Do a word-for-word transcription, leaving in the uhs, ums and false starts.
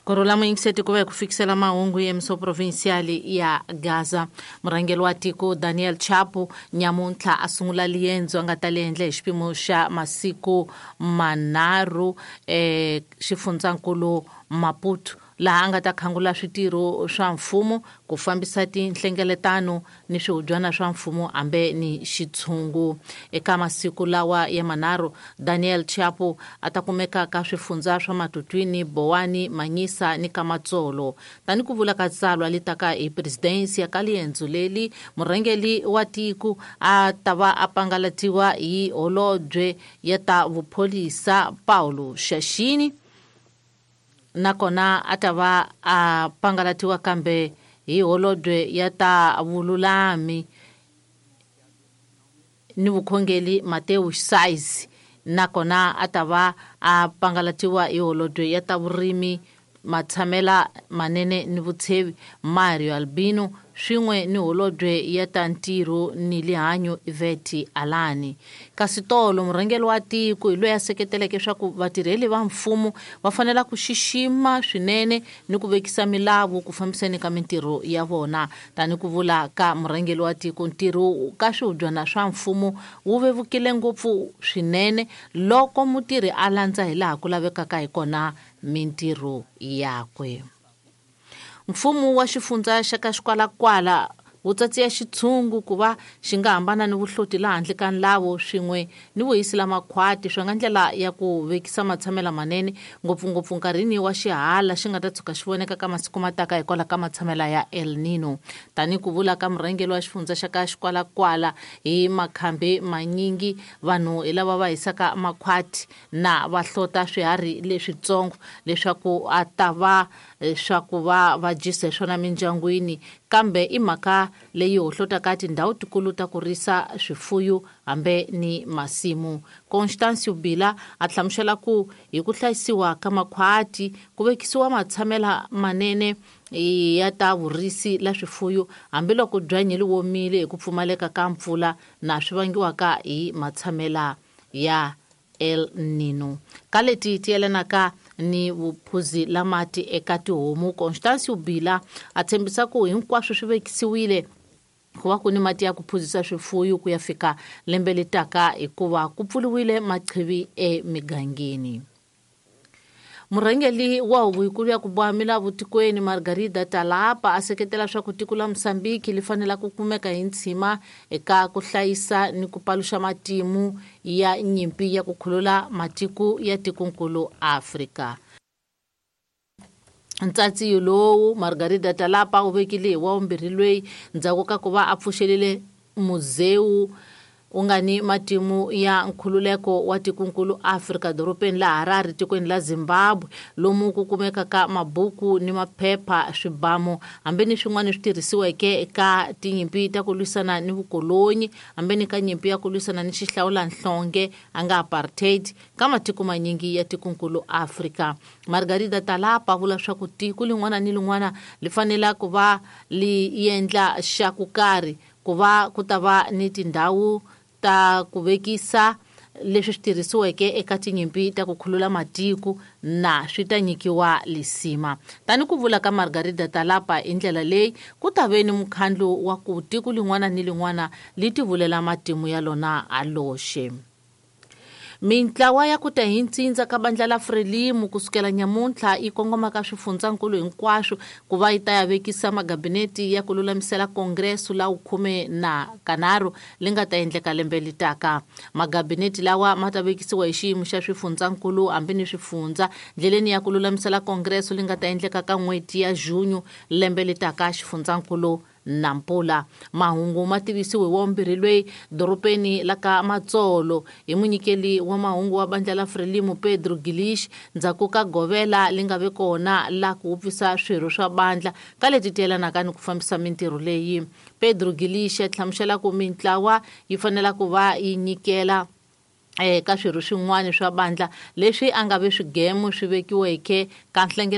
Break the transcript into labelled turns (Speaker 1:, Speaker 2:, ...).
Speaker 1: Kurhula muyingiseti ku va hi ku fikisela mahungu ya miso provincial ya Gaza. Murhangeri wa tiko Daniel Chapo nyamuntlha a sungula liendzo a nga ta li endla hi xipimo xa masiku manharhu eh xifundzankulu Maputo, laha a nga ta khangula switirho swa mfumo ku fambisa tinhlengeletano ni swihubyana swa mfumo hambe ni xitshungu. Eka masiku lawa ya manharhu, Daniel Chapo a ta kumeka ka swifundza swa Matutwini, Bowani, Manyisa ni Kamatsolo. Tani ku vula ka tsalwa li taka hi presidensi ya ka liendzo leli, murhangeri wa tiko a ta va a pangalatiwa hi holobye ya ta vupholisa Paulo Shashini, nakona a ta va a pangalatiwa kambe hi holobye ya ta vululami ni vukhongeli Mateo Size, nakona a ta va a pangalatiwa hi holobye ya ta vurimi matshamela manene ni vutshevi Mario Albino, swin'we ni holobye ya ta ntirho ni lihanyo Iveti Alani. Kasi tolo murhangeri wa tiko hi loyi a seketeleke swa ku vatirheli va mfumo va fanela ku xixima swinene ni ku vekisa milawu ku fambiseni ka mintirho ya vona. Tani ku vula ka murhangeri wa tiko, ntirho ka swihubyana swa mfumo wu vevukile ngopfu swinene loko mutirhi a landza hi laha ku lavekaka hi kona mintirho yakwe. Mfumo wa xifundza xa ka Xikwalakwala wu tsatsiya xitshungu ku va xi nga hambana ni vuhloti laha handle ka nlawo swin'we ni vuhisi la makhwati swi nga ndlela ya ku vekisa matshamela manene ngopfungopfu nkarhini wa xihala xi nga ta tshuka xi voneka ka masiku mataka hikwalaho ka matshamela ya El Nino. Tani ku vula ka murhangeri wa xifundza xa ka Xikwalakwala, hi makhambi manyingi vanhu hi lava va hisaka makhwati na va hlota swiharhi leswitsongo leswaku a ta va swa ku va va dyisa hi swona mindyangwini, kambe i mhaka leyi hohlotaka tindhawu tikulu ta ku risa swifuyo hambe ni masimu. Constancio Bila a hlamusela ku hi ku hlayisiwa ka makhwati ku vekisiwa matshamela manene ya ta vurisi la swifuyo hambiloko byanyi li womile hi ku pfumaleka ka mpfula na swi vangiwaka hi matshamela ya El Nino. Ka leti ti yelanaka ni vuphuzi la mati eka tihomu, Constancio Bila a tshembisa ku hinkwaswo swi vekisiwile ku va ku ni mati ya ku phuzisa swifuyo ku ya fika lembe letaka hikuva ku pfuriwile maqhivi emigangeni. Murhangeri wa huvo yikulu ya ku boha milawu tikweni Margarida Talapa a seketela swa ku tiko la Mozambique li fanela ku kumeka hi ntshima eka ku hlayisa ni ku paluxa matimu ya nyimpi ya ku khulula matiko ya tikonkulu Afrika. Ntsatsiyo lowu Margarida Talapa u vekile hi wa vumbirhi lweyi ndzhaku ka ku va a pfuxelile muzewu u nga ni matimu ya nkhululeko wa tikonkulu Afrika dorobeni la Harare tikweni la Zimbabwe, lomu ku kumekaka mabuku ni maphepha, swibamu hambi ni swin'wana swi tirhisiweke eka tinyimpi ta ku lwisana ni vukolonyi hambi ni ka nyimpi ya ku lwisana ni xihlawulanhlonge a nga apartheid ka matiko manyingi ya tikonkulu Afrika. Margarida Talapa vula swa ku tiko lin'wana ni lin'wana li fanela ku va li endla xa ku karhi ku va ku ta va ni tindhawu ta ku vekisa leswi swi tirhisiweke eka tinyimpi ta ku khulula matiko na swi ta nyikiwa lisima. Tani ku vula ka Margarida Talapa hi ndlela leyi ku ta ve ni mukhandlu wa ku tiko lin'wana ni lin'wana li tivulela matimu ya lona a loxe. Mintlawa ya ku ta hi ntsindza ka bandla la Frelimo kusukela nyamuntlha yi kongoma ka swifundzankulu hinkwaswo ku va yi ta ya vekisa magabineti ya ku lulamisela kongreso la khume na kanharhu li nga ta endleka lembe litaka. Magabineti lawa ma ta vekisiwa hi xiyimo xa swifundzankulu hambi ni swifundza ndleleni ya ku lulamisela kongreso li nga ta endleka ka n'hweti ya Junho lembe litaka xifundzankulu Nampula. Mahungu ma tivisiwe wa vumbirhi lweyi dorobeni la ka Matsolo hi munyikeli wa mahungu wa bandla la Frelimo Pedro Gilish ndzhaku ka govela li nga ve kona la ku wupfisa swirho swa bandla ka leti ti yelanaka ni ku fambisa mintirho leyi. Pedro Gilish a hlamusela ku mintlawa yi fanela ku va yi nyikela eka swirho swin'wana swa bandla leswi a nga ve swigemu swi vekiweke ka nhlengeleto.